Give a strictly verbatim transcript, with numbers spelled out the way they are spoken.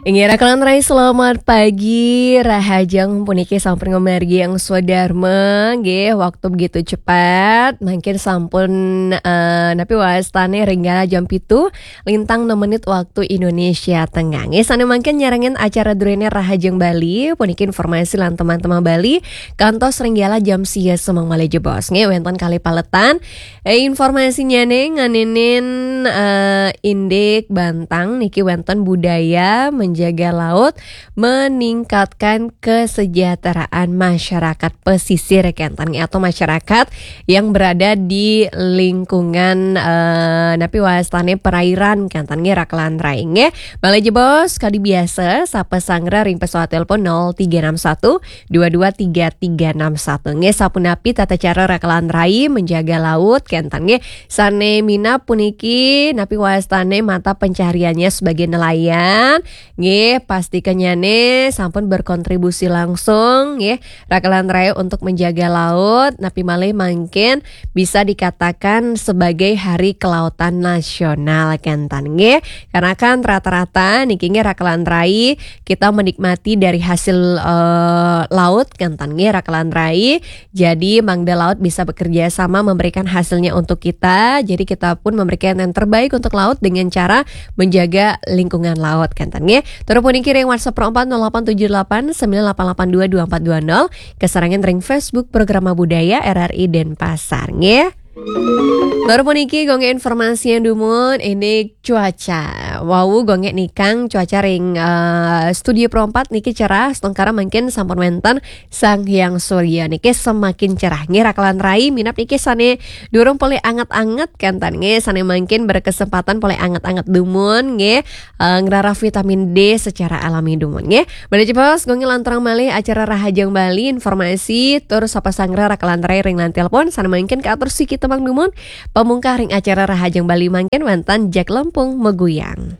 Inggih, Raka lan Rai, selamat pagi. Rahajeng puniki sampun ngamargi angsudarma, nggih, waktu begitu cepat. Mangkin sampun, eh, napi wastane ring galah jam pitu, lintang enam menit waktu Indonesia Tengah. Nggih, sane mangkin nyarengin acara druene Rahajeng Bali, puniki informasi lan teman-teman Bali, kantos ring galah jam sia semeng malih jebos. Nggih, wenten kalih paletan. Eh, informasinyane nganinin, eh, indik bantang niki wenten budaya menjaga laut, meningkatkan kesejahteraan masyarakat pesisir, kenten, atau masyarakat yang berada di lingkungan, eh, napi wastane perairan, kenten, nggih, Raka lan Rai, nggih. Malih jebos, kadi biasa, sapa sanggra ring pesawat telepon nol tiga enam satu dua dua tiga tiga enam satu. Nggih, sapunapi tata cara Raka lan Rai menjaga laut, kenten, nggih. Sane minab puniki napi wastane mata pencahariannya sebagai nelayan, nggih, pastikannyane sampun berkontribusi langsung, nggih, Raka lan Rai, untuk menjaga laut, napi malih mangkin bisa dikatakan sebagai Hari Kelautan Nasional, kenten, nggih. Karena kan rata-rata niki, nggih, Raka lan Rai, kita menikmati dari hasil, eh, laut, kenten, nggih, Raka lan Rai. Jadi, mangda laut bisa bekerja sama memberikan hasilnya untuk kita. Jadi, kita pun memberikan yang terbaik untuk laut dengan cara menjaga lingkungan laut, kenten, nggih. Tur puniki ring WhatsApp empat nol delapan tujuh delapan sembilan delapan delapan dua dua empat dua nol, kasarengan ring Facebook Programa Budaya R R I Denpasar, nggih. Tur puniki gongge informasi yang dumun, ini cuaca. Wau gongge nikang cuaca ring, eh, studio Pro empat niki cerah, setengkara mangkin sampun wenten Sang Hyang Surya niki semakin cerah. Nggih, Raka lan Rai, minab niki sane durung polih anget-anget, kenten, nggih, sane mangkin berkesempatan polih anget-anget dumun, nggih, eh, ngrarah vitamin D secara alami dumun, nggih. Malih jebos, gongge lanturang malih acara Rahajeng Bali, informasi, tur sapa sanggra Raka lan Rai ring line telepon, sane mangkin katur siki temang dumun, pamungkah ring acara Rahajeng Bali mangkin wenten Jack Lempung Meguyang.